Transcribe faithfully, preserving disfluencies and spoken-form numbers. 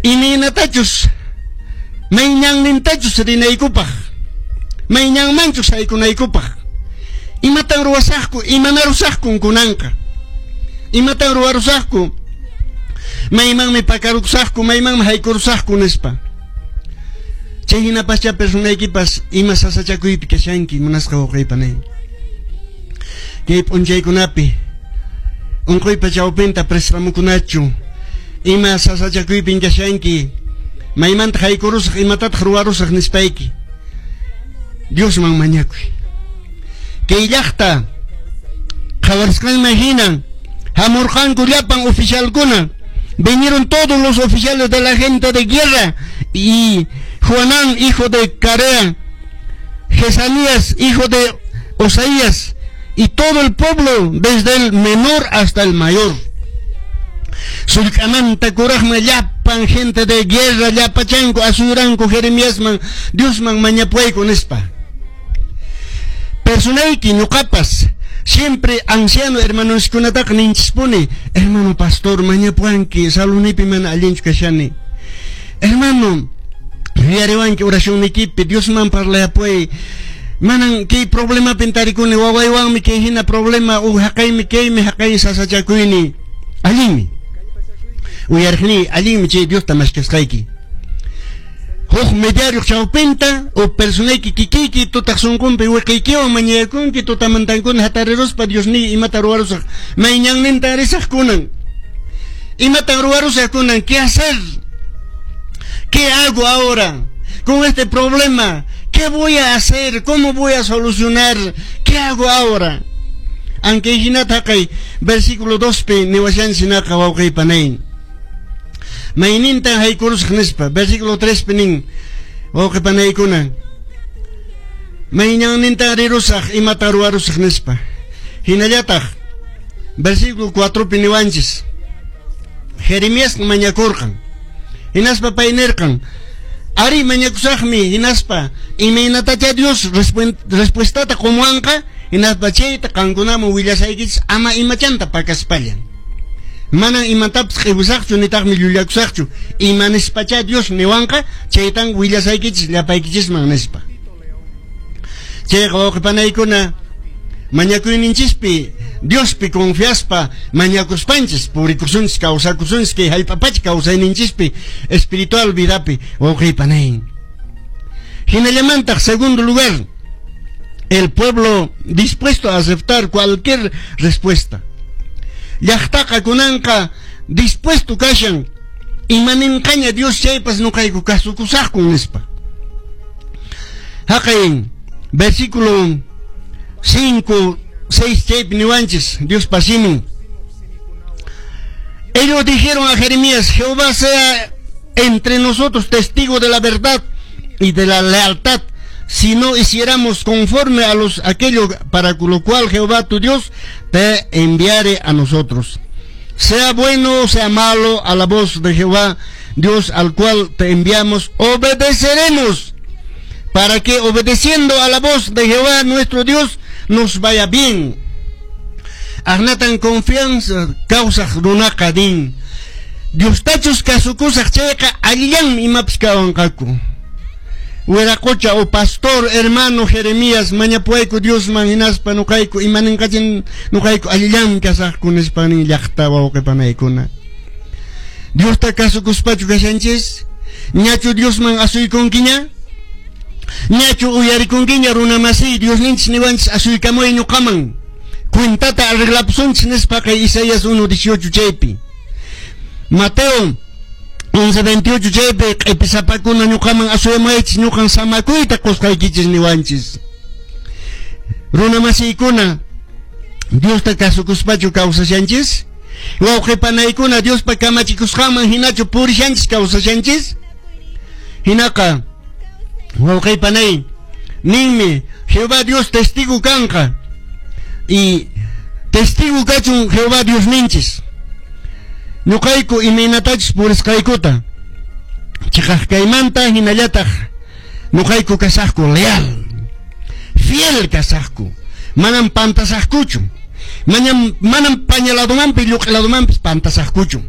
Imaynatachus mayñannintachus rinaykupaq, mayñanmanchus haykunaykupaq. Imatan ruwasaqku, imanarusaqku kunanqa? Imatan ruwarusaqku? Maymanmi pakarusaqku, maymanmi haykurusaqku nispa. Chay hinapascha personaykipas ima sasachakuypi kashanki, munasqa wawqiypanay. Kay p'unchaykunapi unquypa chawpinta préstamokunachu, ima sasachakuypin kashanki, maymanta haykurusaq, imatataq ruwarusaq nispayki. Diosman mañakuy. Kay llaqta qhawarisqanman hinan hamurqanku llapan oficialkuna. Vinieron todos los oficiales de la gente de guerra y Joanán, hijo de Carea, Jesanías, hijo de Osaías, y todo el pueblo, desde el menor hasta el mayor. Sullk'amanta kuraqman llapan gente de guerra llapachanku asuyranku Jeremiasman Diosman mañapuayku nispa. Personayki ñuqapas siempre anciano hermanoskunataqa ninchispuni, hermano pastor mañapuanki salunipi mana allinchu kashani. Hermano, yuyariwanki oracionnikipi Diosman parlayapuay. Manan kay problemapin tarikuni wawaywanmi kay hina problema u haqaymi kaymi haqay sasachakuyni. Allinmi. Uyariqni allinmi chay Diosta mashkasqayki. Huk mediario chawpinta o personayki kikiyki tutaq sunqunpi wiqiykiwan mañakunki tutamantankuna hatariruspa Diosniy imata ruwarusaq mayñanninta risaq kunan. Imatan ruwarusaq kunan, ¿qué hacer? ¿Qué hago ahora con este problema? ¿Qué voy a hacer? ¿Cómo voy a solucionar? ¿Qué hago ahora? Aunque hinata kay versículo dos pi niwashan sinaqa wawqiypanay. Maynintan haykurusaq nispa versículo tres pi nin wawqipanaykuna. Mayñannintan rirusaq imata ruwarusaq nispa. Hinallataq versículo cuatro pi niwanchis. Jeremías mañakurqan. Hinaspa pay nirqan. Ari mañakusaqmi hinaspa imaynatacha Dios respuestata qumuwanqa hinaspa chayta qankunaman willasaykichis ama imachanta pakaspalla. Manan imatapas q'iwusaqchu nitaqmi llullakusaqchu ima nispacha Dios niwanqa chaytan willasaykichis llapaykichisman nispa. Chayqa wawqipanaykuna mañakuyninchispi Diospi confiaspa mañakuspanchis purikusunchis kawsakusunchis kay hallp'apacha kawsayninchispi espiritual vidapi wawqipanay. Hinallamantaq segundo lugar, el pueblo dispuesto a aceptar cualquier respuesta. Llaqtaqa kunanqa dispuesto kashan imaninqaña Dios chaypas nuqayku kasukusaqku nispa. Haqay versículo cinco, seis chaypi niwanchis Dios pasimin. Ellos dijeron a Jeremías: Jehová sea entre nosotros testigo de la verdad y de la lealtad, si no hiciéramos conforme a los aquello para lo cual Jehová tu Dios te enviare a nosotros. Sea bueno o sea malo, a la voz de Jehová Dios al cual te enviamos, obedeceremos, para que obedeciendo a la voz de Jehová nuestro Dios nos vaya bien. Ahnatan confianza kawsaq runaqa din. Diostachus kasukusaq chayqa allillanmi imapas kawanqaku. Wiraqocha o pastor hermano Jeremías mañapuayku Diosman hinaspa nuqayku imaninqachin nuqayku allillanmi kasaqku nispa nin llaqta wawqipanaykuna. Diosta kasukuspachu kashanchis? Ñachu Diosman asuykunkiña? Ñachu uyarikunkiña runa masiy Diosninchis niwanchis asuykamuy ñuqaman. Cuentata arreglapusunchis nispa kay Isaías uno dieciocho chaypi. Mateo once veintiocho chaypi q'ipisapakuna ñuqaman asuyamaychis ñuqan samakuyta qusqaykichis niwanchis. Runa masiykuna Diosta kasukuspachu kawsashanchis? Wawqipanaykuna Diospa kamachikusqanman hinachu purishanchis kawsashanchis? Hinaqa wawqipanay ninmi Jehová Dios testigo kanqa y testigo kachun Jehová Dios ninchis. Ñuqayku imaynatachus purisqaykuta chiqaq kaymanta hinallataq ñuqayku kasaqku leal, fiel kasaqku, manam pantasaqkuchu, manam manam pañaladumanpis lluq'iladumanpis pantasaqkuchu.